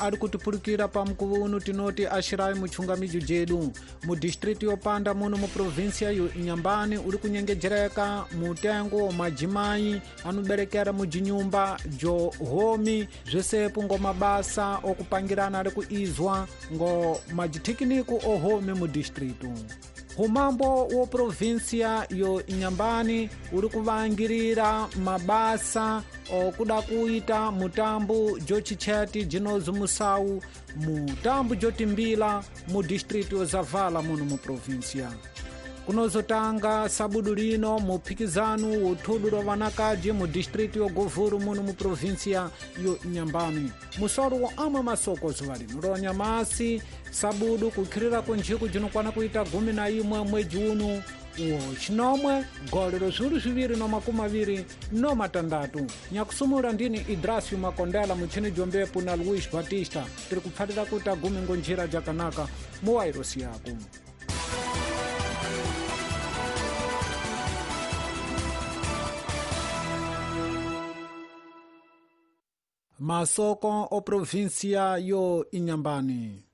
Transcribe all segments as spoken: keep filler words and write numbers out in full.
Ari kutipurukira pamukuvo uno tinoti ashirai muchungamijo jedu mu distritu yopanda muno mu provinsia yo Inhambane uri kunyengejereka mutengo wa majimai anoberekera mujinyumba jo homi zvesepo ngo mabasa okupangirana ari kuizwa ngo majitekniko ohomi mu distritu. Humambo wo provinsia yo Inhambane uri kuvangirira mabasa okuda kuita mutambo jochicheti jinozi musau mutambo jotimbila mu distritu yo Zavala muno mu provinsia. Kunozotanga sabudu lino muphikizano wothudu lwa vanakaji mu distritu yo Govuru muno mu provinsia yo Inhambane. Musoro wa amwe masoko zuva lino lwa nyamasi sabudu kukhirira kunjiku jinokwana kuita gumi na imwe mwedzi uno wo chinomwe gole zviuru zviviri no makumi maviri no matandatu. Nyakusumura ndini Idrasio Makondela muchini jombepo na Luis Batista tiri kupfatira kuita gumi ngo njira jakanaka muwairosi yako. Masoko o provinsia yo Inhambane.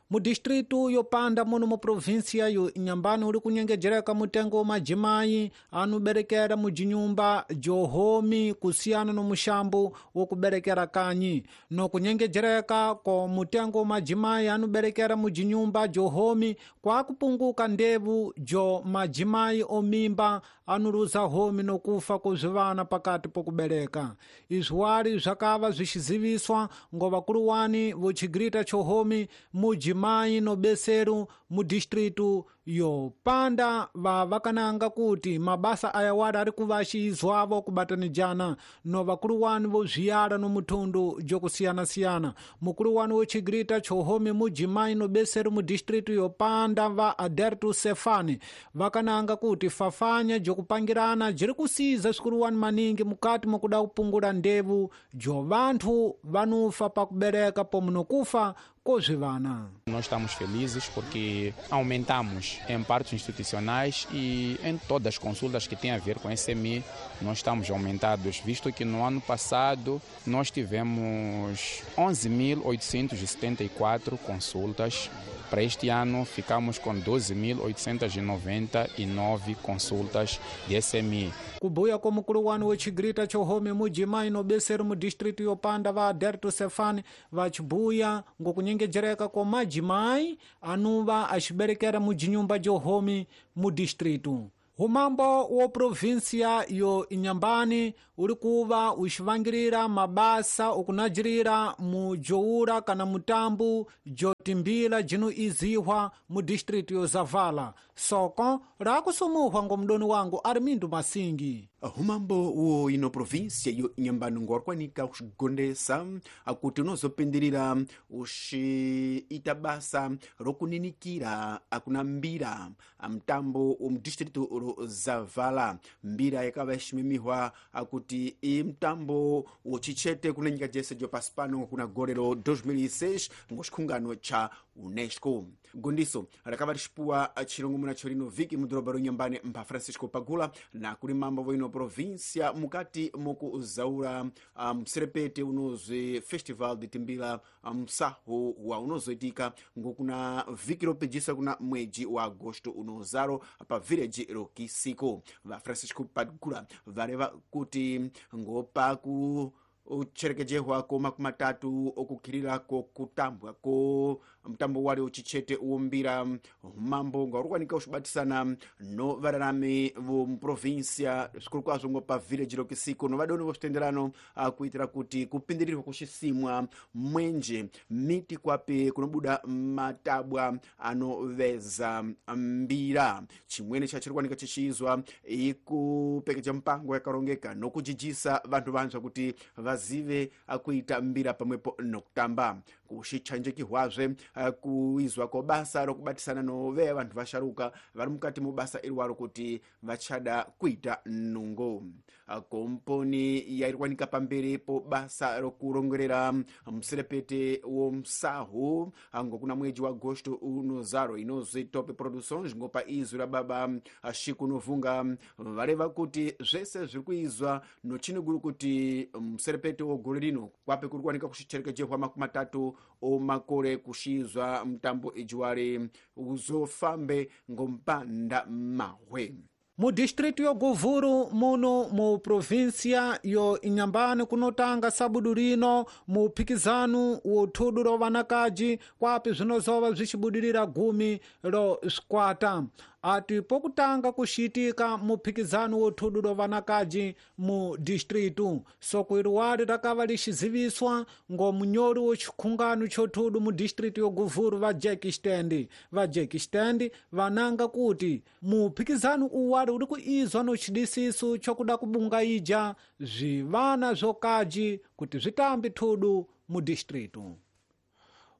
Mu distritu yopanda muno mu provinsia yo Inhambane uri kunyengejereka mutengo wa majimai anoberekera mujinyumba johomi kusiyana no mushambo wokuberekera kanyi. No kunyengejereka ko mutengo wa majimai anoberekera mujinyumba johomi kwa kupunguka ndevu jo majimai omimba anuruza homi nokufa kuzvivana pakati pokubereka. Izvi zvakava zvichiziviswa ngo vakuluwani vochigrita chohomi mujimai no beseru mu distritu yopanda va vakananga kuti mabasa aya wari ari kuvachiizwavo kubatanijana no vakuluwani vozviyala no muthundu jokusiyana-siyana. Mukuluwani wochigrita chohomi mujimai no beseru mu distritu yopanda va Aderto Sefani vakananga kuti fafanya jokupangirana jiri kusiza zvikuluwani maningi mukati mokuda kupungula ndevu jo vanthu vanufa pakubereka pomwe nokufa kozvivana. Nós estamos felizes porque aumentamos em partos institucionais e em todas as consultas que têm a ver com S M I, nós estamos aumentados, visto que no ano passado nós tivemos onze mil oitocentas e setenta e quatro consultas. Para este ano ficamos com doze mil oitocentas e noventa e nove consultas de S M I. Kubuya kwa mukuluwani wechigrita chohomi mujimai no beseru mu distritu yopanda va Aderto Sefani vachibuya ngokunyengejereka kwa majimai anuva achiberekera mujinyumba johomi mu distritu. Humambo wo provinsia yo Inhambane uri kuva uchivangirira mabasa okunajirira mujoura kana mutambu jotimbila jino izihwa mu distritu yo Zavala. Soko rakusumuhwa ngo mdoni wangu Armindo Masingi. Humambo wo ino província yo Inhambane ngorikwanika kuxigondesa akuti unozopindirira uxiita basa rokuninikira akuna mbira mtambo wo mudistritu ro Zavala. Mbira yakava iximimihwa akuti i mtambo wochichete kuna nyika jese jo pasi pano kuna gore ro dois mil e seis ngo xikhungano cha UNESCO. Gondiso rakava rixipuwa chirongomuna chorino viki mudhorobha ro Inhambane mpha Francisco Pagula na kuri mambo vo ino província mukati mokuzaura mserepete um, unozwi Festival de Timbila msaho um, wa unozoitika ngokuna viki ropejisa kuna mwedzi wa agosto unozaro pa village Rokisiko. Va Francisco Pagula vareva kuti ngopaku ucherekejehwa ko makumi matatu okukhirira ko kutambwa ko mtambo wale uchichete uwombira mambo ngaurikwanika uxibatisana no vararami vomuprovinsia zvikuru kwazvo ngo pa village Rokisiko no vadoni voxitenderano kuitira kuti kupindirirwa kuxisimwa mwenje miti kwapi kunobuda matabwa anoveza mbira. Chimwene chachirikwanika chichiizwa ikupekeja mpango yakarongeka nokujijisa vanthu vanzva kuti vazive akuita mbira pamwepo nokutamba. Kuxichanjekihwazve kuizwa ko basa rokubatisana nove vanhu vasharuka vari mukati mubasa irwaro kuti vachada kuita nungo. Komponi yairikwanika pamberi po basa rokurongerera muserepete womsahu ngokuna mwedzi wa agosto unozaro inozwi Top Productions ngopa izwi ra baba Shiku Novunga vareva kuti zvese zviri kuizwa nochinoguru kuti muserepete wogore rino kwape kuri kuwanika kuxicherekejehwa makumi matatu omakole kushizwa mtambo ijiwali uzofambe ngompanda mahwe. Mu distrito yo Govuro muno mu província yo Inhambane kunotanga sabudu rino mu phikizano wo thudu ro vanakaji kwapi zvinozova zvichibudirira gumi ro squata. Ati pokutanga kushitika muphikizano wo thudu ro vanakaji mu distritu soko iriwari rakava lixiziviswa ngo munyori wo xikhungano xo thudu mu distritu yo Govuro va Jack Stand. Va Jack Stand vananga kuti muphikizano uwari uri kuizwa no xidisiso xo kuda kubungaija zvivana zvokaji kuti zvitambi thudu mu distritu.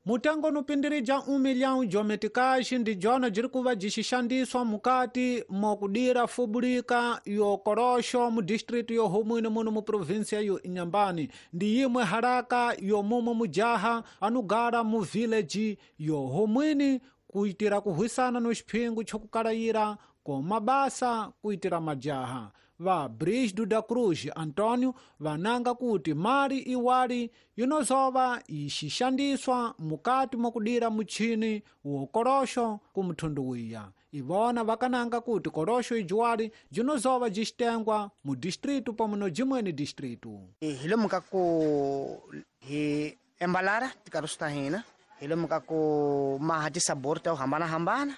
Mutengo unopindirija um milhão de meticais ndi jona jiri kuva jixixandiswa mukati mokudira fubulika yo Korosho mu distrito yo Homwini muno mu província yo Inhambane. Ndi yimwe haraka yo mumo mujaha anugara mu village yo Homwini kuitira kuhwisana no xiphingu xokukalayira ko mabasa kuitira majaha. Va Brisdo da Cruz Antônio vananga kuti mali iwali inozova ixixandiswa mukati mokudira muchini wo korosho kumthundu wiya. Ivona vakananga kuti korosho ijuwali jinozova jixitengwa mu distrito pamwe no jimweni distrito. Hi lomu ka ku hi embalara tikaroso ta hina, hi lomu ka ku maha tisabor ta ku hambanahambana,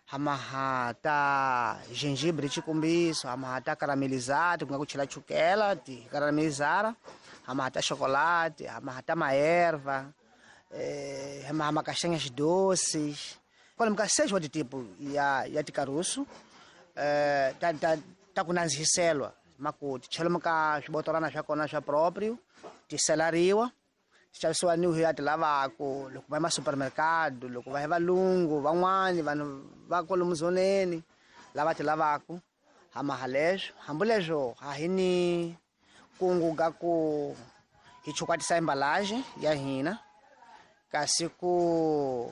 hamaha ta gengibre xikombiso, hamaha ta caramelizado ku nga ku chela chukela ti caramelizara, hamaha ta chocolate, hamaha ta maerva, eh, hamaha macastanhas doces. Kwalomu ka seis wa tipo ya ya tikarusu eh, ta ta ta ku nandzihiselwa maku ti chela ka swibotorana swa kona swa proprio ti selariwa ti xavisiwa ni ya ti lavako loko va ya masupermercado, loko va ya valungu van'wani vanhu va kwalomu zoneni lava ti lavako. Hamaha leswo hambi leswo a hi ni kungu ga ku hi chukwatisa embalagem ya hina kasi ku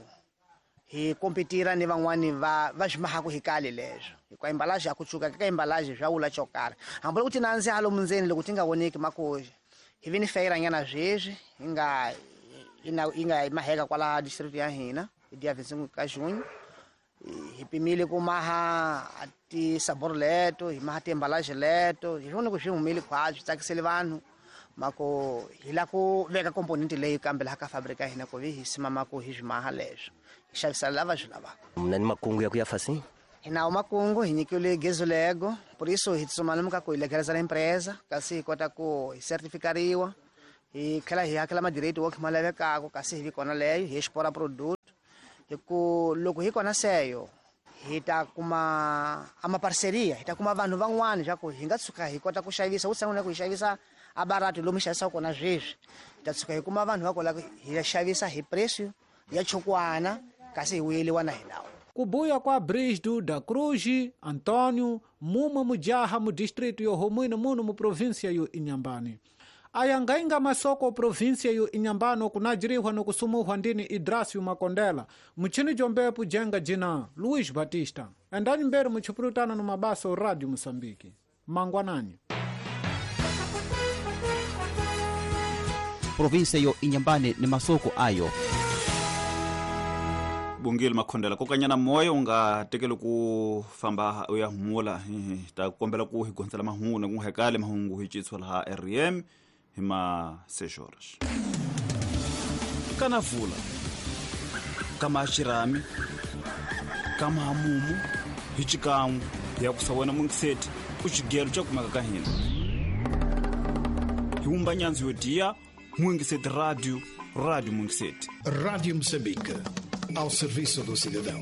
hi kompetira ni van'wani va va swi mahaku hi kale leswo hikuva embalagem ya ku tshuka ka embalagem swa wula xo karhi hambi loko ti nandziha lomu ndzeni loko ti nga voneki makoxi. Hi vi ni feira nyana sweswi hi nga yi nga yi nga maheka kwala district ya hina hi dia vinte e cinco ka junho. Hi pimile ku maha tisabor leto, hi maha tiembalagem leto, hi vone ku swi humile khwatsi swi tsakisele vanhu mako hi la ku veka component leyi kambe laha ka fabrika ya hina ku vi hi simama ku hi swi maha leswo hi xavisela lava swi lavaka. Mna ni makungu ya ku ya fasi? Hi nawo makungu, hi nyikiwile gezulego, por isso hi tsutsuma lomu ka ku hi legalizela empresa kasi hi kota ku hi certificariwa, hi tlhela hi hakela madireti wo ma lavekaka kasi hi vi kona leyo hi explora produto. Hi ku loko hi kona seyo hi ta kuma a maparceria, hi ta kuma vanhu van'wani swa ku hi nga tshuka hi kota ku xavisa wu sungula ku hi xavisa a barato lomu hi xavisaka kona sweswi, hi ta tshuka hi kuma vanhu va kola hi xavisa hi preço ya chukwana kasi hi vuyeliwa na hina. Kubuya kwa Brisdo da Cruz Antônio mumwe mujaha mu distrito yo Homwini muno mu província yo Inhambane. Ayangainga masoko província yo Inhambane kunajirihwa no kusumuhwa ndini Idrasio Makondela muchini jombepu jenga jina Luiz Batista. Endani mbere muchipurutana no mabaso Radio Moçambique. Mangwanani. Província yo Inhambane ni masoko ayo. Bungile Makhondela kokanyana moyo u nga tekeli ku famba u ya humula hi ta kombela ku hi gondzela mahungu na ku hekale mahungu hi citswa laha R M hi ma seis horas. Kana vula kama xirami kama hamumu hi xikan'we ya ku sa wena mungiseti u xigelo xa kumeka ka hina hi wumba nyandzu yo diya Mungiseti Radio, Rádio Mungiseti. Rádio Moçambique, ao serviço do cidadão.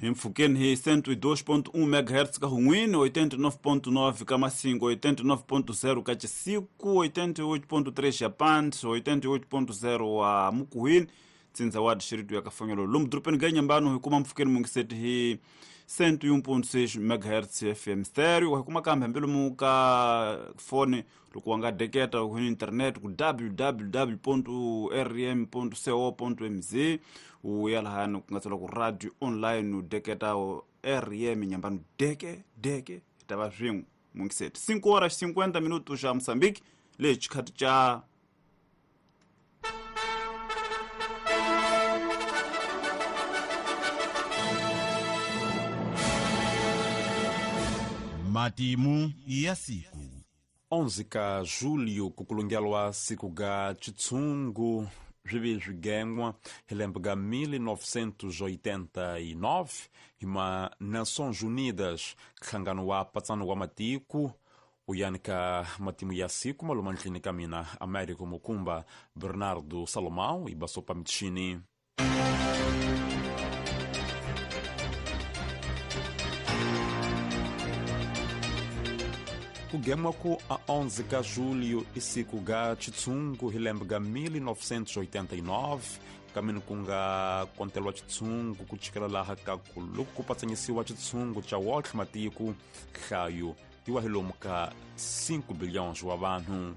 Hi mpfhukeni hi cento e dois ponto um megahertz ka Hunwini, oitenta e nove ponto nove ka Massinga, oitenta e nove ponto zero ka Chisiku, oitenta e oito ponto três ya Pant, oitenta e oito ponto zero a Mukuhini, tsindza wa distrito ya Kafanyolo. Lomu dorobeni ga Inhambane hi kuma mpfhukeni Mungiseti hi cento e um ponto seis megahertz F M stereo. Hi kuma kambe hambi lomu ka foni loko wa nga deketa ku internet ku w w w ponto r m ponto co ponto m z u ya lahani ku nga tsala ku radio online u deketa R M Inhambane deke deke hi ta va swin'we Mungiseti. Cinco horas cinquenta minutos xa Moçambique, lexi xikhathi xa Matimu ya siku onze ka julho kukulungelwa siku ga chitsungu swivi swigengwa hi lembe ga mil novecentos e oitenta e nove hi ma Nações Unidas nhlangano wa patsano wa matiko uyani ka matimu ya siku maluma ndlini ka mina Américo Mukumba Bernardo Salomão e basopa mitshini. Kugemwa ku a onze ka julho e siku ga chitsungu hi lembe ga mil novecentos e oitenta e nove kamini ku nga kontelwa chitsungu ku chikela laha ka ku loko ku patsanyisiwa chitsungu cha wotlhe matiko nhlayo yi wa hi lomu ka cinco bilhões wa vanhu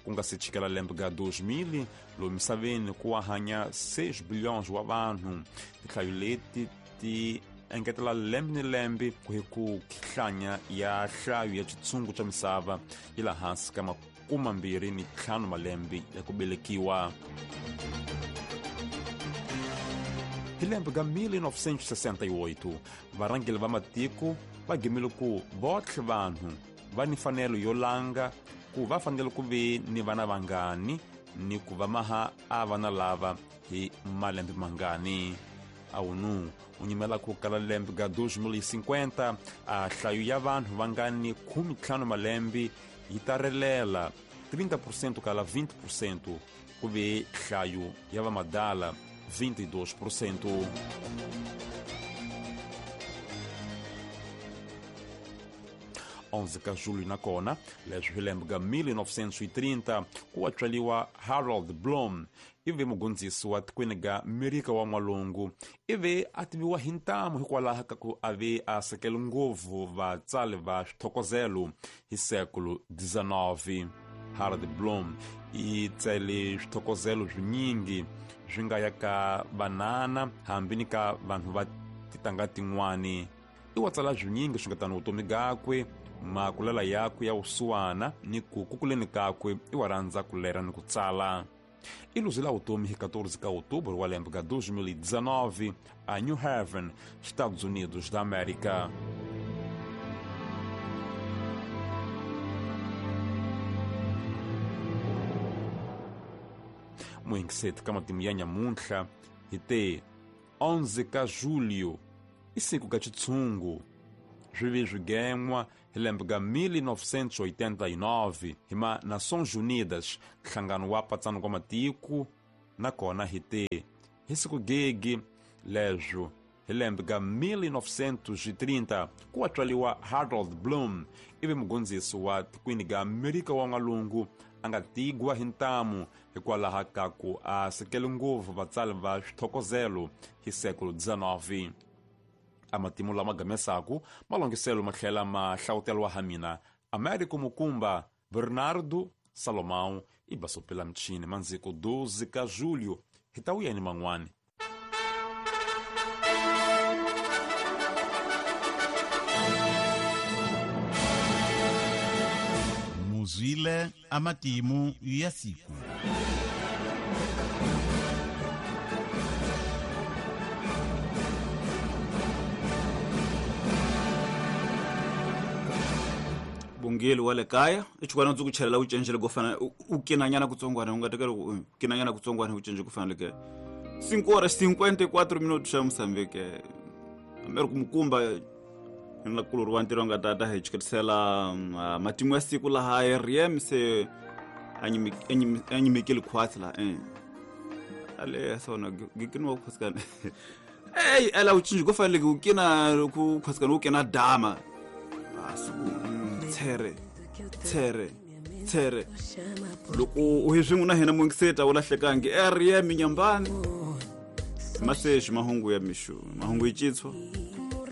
ku nga se chikela lembe ga dois mil lomu misaveni ku wa hanya seis bilhões wa vanhu tinhlayo leti ti engetela lembe ni lembe ku hi ku hlanya ya nhlayo ya xitshungu xa misava yi la hansi ka makume mbirhi ni ntlhanu malembe ya ku velekiwa. Hi lembe ga mil novecentos e sessenta e oito varhangeri va matiko va gimile ku votlhe vanhu va ni mfanelo yo langa ku va fanele ku ve ni vana vangani ni ku va maha a vana lava hi malembe mangani. A ONU u nyimela ku kala lembe ga dois mil e cinquenta a nhlayo ya vanhu va nga ni khume ntlhanu malembe yi ta relela trinta por cento kala vinte por cento ku ve nhlayo ya vamadala vinte e dois por cento. onze ka julho na kona leswi hi lembe ga mil novecentos e trinta ku wa tswaliwa Harold Bloom ivi mugondzisi wa tikweni ga Amerika wa N'walungu ivi a tiviwa hi ntamu hikwalaho ka ku a ve a sekele ngopfu vatsali va swithokozelo hi século dezenove. Harold Bloom i tsale swithokozelo swinyingi swi nga ya ka vanana hambi ni ka vanhu va titanga tin'wani. I wa tsala swinyingi swi nga tani vutomi gakwe makulela yakwe ya vusiwana ni ku kukuleni kakwe i wa rhandza ku lera ni ku tsala. I luzela vutomi hi quatorze ka outubro wa lembe ga dois mil e dezenove a New Haven, Estados Unidos da América. Muingiseti ka matimu ya nyamuntlha hi te onze ka julho i siku ka xitshungu swi vi swigen'wa hi lembe ga mil novecentos e oitenta e nove hi ma Nações Unidas nhlangano wa patsano wa matiko nakona hi te hi siku gegi leswo hi lembe ga mil novecentos e trinta ku wa tswaliwa Harold Bloom ivi mugondzisi wa tikweni ga Amerika wa N'walungu a nga tigwa hi ntamu hikwalaho ka ku a sekele ngopfu vatsali va swithokozelo hi século dezenove. A matimu lama gamesaku malongiselo ma tlhela ma hlawuteliwa ha mina Américo Mukumba Bernardo Salomão e basopela mchini manziko doze ka julho hi ta wuyeni man'wani. Muzwile amatimu ya siku. Bungeli wa le kaya i chukwana ndzi ku chelela u cencele ku fana u kinanyana kutsongwana u nga tekela ku kinanyana kutsongwana u cence ku fana le cinco horas cinquenta e quatro minutos xa Moçambique Américo Mukumba na kuluru wa ntirho nga tata hi chiketisela matimu ya siku laha R M se anyimikile khwatsi la eh ale sona gikino khwasikana ey ala u cince ku fanele ku kina ku khwasikana u kina dama asiku tshere tshere tshere loko u hi swin'we na hina mungiseta u lahlekangi R M Nyambani maseji mahungu ya mishu mahungu yitsho.